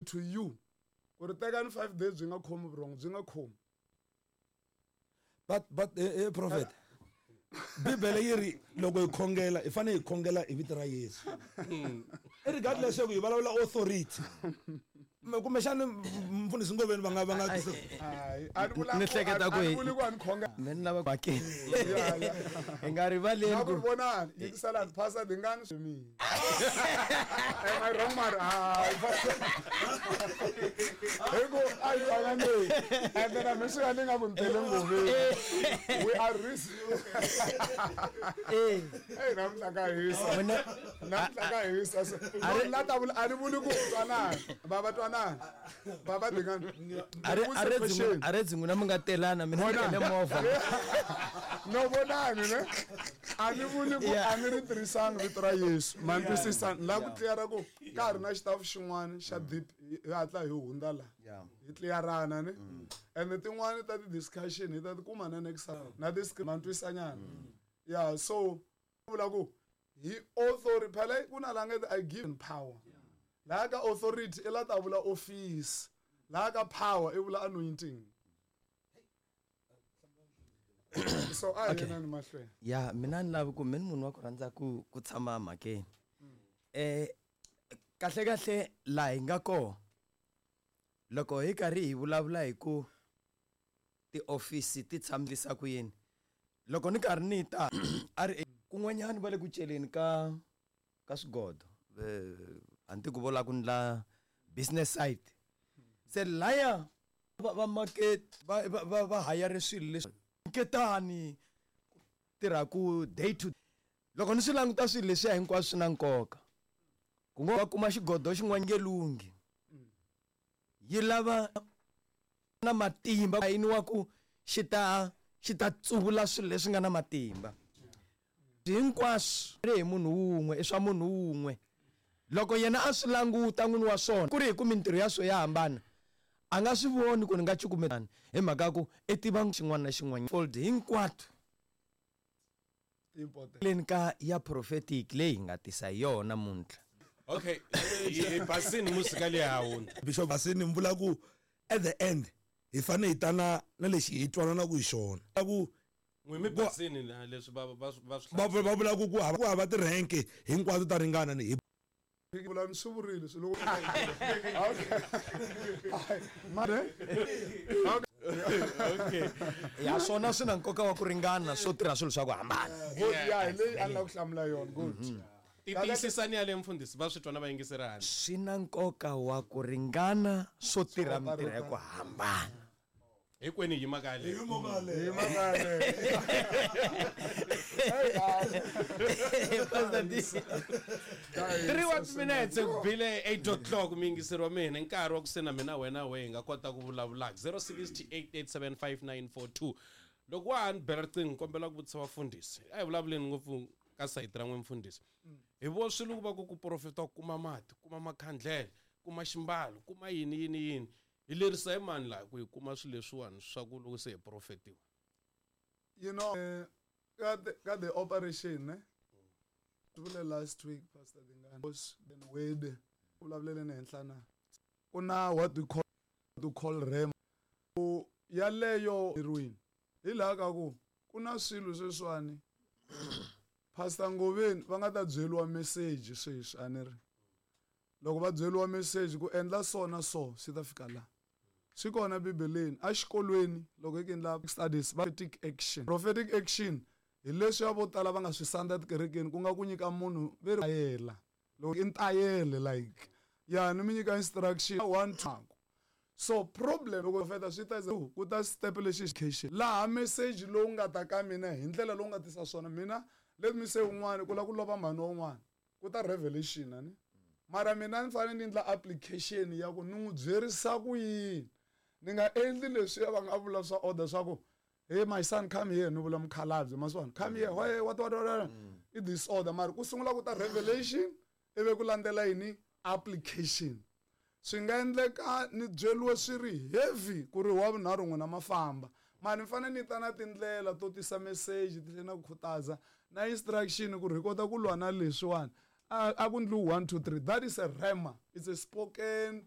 to you ku ri tekani 5 days byi nga khomi vurhongo byi nga khomi. But prophet, Bibele yi ri loko hi khongela hi fanele hi khongela hi vito ra Yesu. Regardless ku hi vulavula authority. Kumbexana mfundhisi Ngoveni va nga tisa. A ni vula Ni hleketa ku a ni vuli ku a ni khonga. Me ni lava mhakeni. Hi nga rivaleni Na ku ku vonani, yingiselani, Pastor Dingani swi mina. Am I wrong, mara? Hayi, Pastor. Hi ku a hi twananeni. And then a mi swi nga ni nga ku ni tele Ngoveni. We are risk. Eh. Hey, namuntlha ka hisa. N'wina- Namuntlha ka hisa. So, no, la ta vula, a ni vuli ku twanani. Baba twanani. Baba Dingani. A re Question. a re dzin'wina mi nga telana mina ni Vona. tele movha. No vonani ne a ni vuli ku a ni ri tirhisanga vito ra Yesu ma ni twisisa ni lava ku tliyara ku ka ha ri na xitafu xin'wana xa deep hi hatla hi hundza la hi tliyarana ne and tin'wani ta ti-discussion hi ta ti kuma na next time na ti ma ni twisanyana yeah so vula ku hi authority phela ku na la nge I give power laha ka authority i la ta vula office laha ka power i vula anointing. So a hi yenani mahlweni. Ya mina ni lavi ku mina munhu wa ku rhandza ku ku tshama mhakeni. Kahle kahle laha hi nga koho loko hi karhi hi vulavula hi ku tiofisi ti tshamisa ku yini loko ni karhi ni ta a ri kun'wanyani va le ku celeni ka ka swigodo a ni tiku vo lava ku ndla business side se laya va market va hayare swilo leswi nketani tirhaku day to loko ni swi languta swilo leswiya hinkwaswo swi na nkoka ku ngo va kuma xigodo xin'wana nge lunghi yi lava na matimba yini wa ku xi ta tsuvula swilo leswi nga na matimba hinkwaswo ri hi munhu wun'we i swa munhu wun'we loko yena a swi languta n'wini wa swona ku ri hi ku mintirho ya swo ya hambana a nga swi voni ku ni nga cukumetani hi mhaka ku i tiva xin'wana na xin'wana fold hinkwato leni ka ya prophetic leyi hi nga tisa yona namuntlha. Okay, hi basini musika leyi ha hundza. Bishop Basini mi vula ku at the end hi fanele hi tana na lexi hi twanana ku hi xona. Ku N'wi mi basini na leswi va swi va vula ku ku hava ti-rank hinkwato ta ringana ni hi Vula ni swi vurile swi loko Okay. Okay. Ya swona swi na nkoka wa ku ringana swo tirha swilo swa ku hambana. Good, ya hi leyi a ni lava ku hlamula yona. Good. Tiyisisani ya le mfundhisi va swi twa na vayingiseri handle. Swi na nkoka wa ku ringana swo tirha mintirho ya ku hambana. Hinkwenu hi yima ka yaleyo. Hi yima ka yaleyo. Hi yima ka yaleyo. Pastor D. 3 what minutes ku bile 8 o'clock mi yingiseri wa mina nkarhi wa ku se na mina wena we hi nga kota ku vulavulaka 0688875942 loko wa ha ni bela riqingho kombela ku vutisa vafundhisi a hi vulavuleni ngopfu ka sayiti ra n'we mfundhisi hi vo swilo ku va ku ku profeta ku kuma mati kuma makhandlele kuma ximbalo kuma yini yini yini hi lerisa hi mani laha ku hi kuma swilo leswiwani swa ku loko se hi profetiwa. You know, ka the operation, ne? Vule last week, Pastor Dingani, was then word, vulavulele ni henhla na. Ku na what we call, to call rem. Ku yaleyo heroin. Hi laha ka ku, ku na swilo sweswiwani. Pastor Ngoveni va nga ta byeriwa message sweswi, a ni ri. Loko va byeriwa message ku endla so na so swi ta fika la. Swi kona Bibeleni, exikolweni loko hi ku endla studies va prophetic action. Prophetic action hi leswi ya vo tala va nga swi sandza etikerekeni ku nga ku nyika munhu ve ri tayela. Loko i ntayele like ya ni mi nyika instruction 1 2. So problem loko profeta swi ta ku ta step lexi education laha message lowu nga ta ka mina hi ndlela lowu nga tisa swona mina let me say un'wana ku la ku lova mhani wa un'wana ku ta revelation ani mara mina ni fanele ni endla application ya ku ni n'wi byerisa ku yini ni nga endli leswi va nga vula swa order swa ku hey my son come here ni vula mukhalabye ma swi vona come here why what what what i disorder mara ku sungula ku ta revelation ivi ku landzela yini application swi nga endleka ni byeriwe swi ri heavy ku ri wa vunharhu n'wina ma famba mara ni fanele ni ta na tindlela to tisa message ti tlhela na ku khutaza na instruction ku ri hi kota ku lwa na leswiwani a ku ndliwi 1 2 3 that is a rhema it's a spoken